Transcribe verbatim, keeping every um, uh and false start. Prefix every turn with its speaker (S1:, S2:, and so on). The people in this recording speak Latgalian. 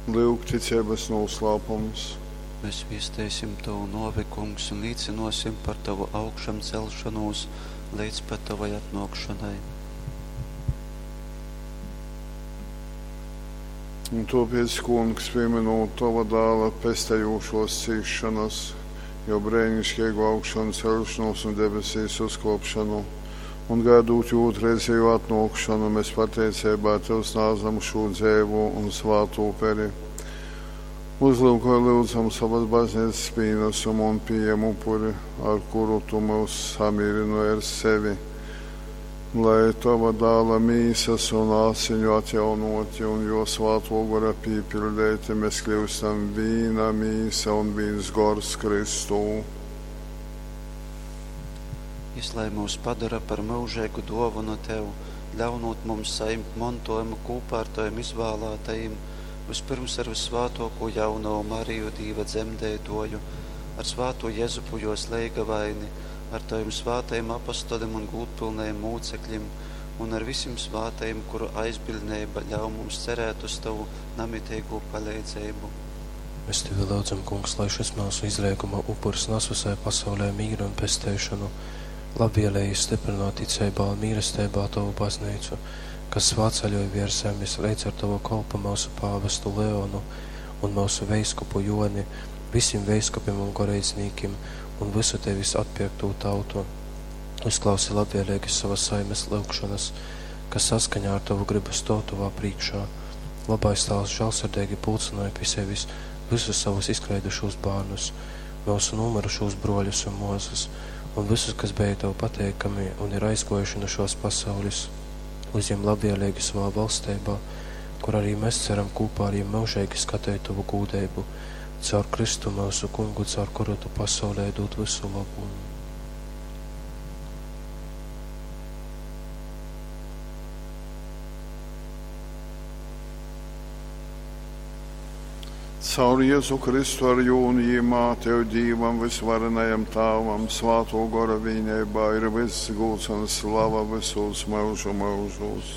S1: Lyuk ticeibas nūslāpums.
S2: Mēs viesteisim tovu nōvi, Kungs, un līcynōsim par tovu augšamceļšonūs leidz pat tovai atnōkšonai.
S1: Un tōpēc, Kungs, pīmynūt tova Dāla pestejūšōs cīsšonas, jō breiniškeigū augšanceļšonūs un debesīs uzkōpšonu, un gaidūt jō ūtrreizejū atnōkšonu, mēs pateiceibā tev snādzam šū dzeivū un svātū uperi. Uzlyukoj, lyudzam, sovas bazneicas pīnasumu un pījem upuri, ar kuru tu myus samīrynoj ar sevi, lai tova Dāla mīsas un asiņu atjaunoti un jō Svātō Gora pīpiļdeiti mēs kļūstam vīna mīsa un vīns gors Kristū.
S2: Jys lai myus padora par myužeigu dōvonu tev, ļaunūt mums sajimt montōjumu kūpā ar tovim izvālātajim, vyspyrms ar vyssvātōkū jaunovu Mariju, Dīva dzemdeitōju, ar svātū Jezupu jōs leigavaini, ar tovim svātajim apostolim un gūdpylnajim mūcekļim un ar visim svātajim, kuru aizbiļdneiba ļauj mums cerēt uz tovu namiteigū paleidzeibu.
S3: Mēs tevi lyudzam, Kungs, lai šys myusu izleiguma upurs nas visai pasaulei mīru un pesteišonu. Labvēlīgi stiprināt ticeibā un mīlesteibā tovu bazneicu, kas svātceļoj viers zemes leidz ar tovu kolpu myusu pāvestu Leonu un myusu veiskupu Joni, visim veiskupim un goreidznīkim un visu tevis atpierktū tautu. Uzklausi labvēlīgi savas saimes lyugšonas, kas saskaņā ar tovu gribu stōv tovā prīškā. Labais Tāvs žālsirdeigi pulcynoj pi sevis visus savus izkleidušūs bārnus, myusu nūmyrušūs brōļus un mōsas, un visus, kas bija tev pateikami un ir aizgōjuši nu šōs pasaules. Uzjem labvēlīgi savā valsteibā, kur arī mēs ceram kopā ar jiem myužeigi skateit tovu gūdeibu, caur Kristu myusu Kungu, caur kuru tu pasaulei dūd vysu lobu.
S1: Caur Jēzu Kristu ar jū un jimā tev Dīvam vysvarenajam Tāvam Svātō Gora vīneibā ir vyss gūds un slava vysūs myužu myužūs.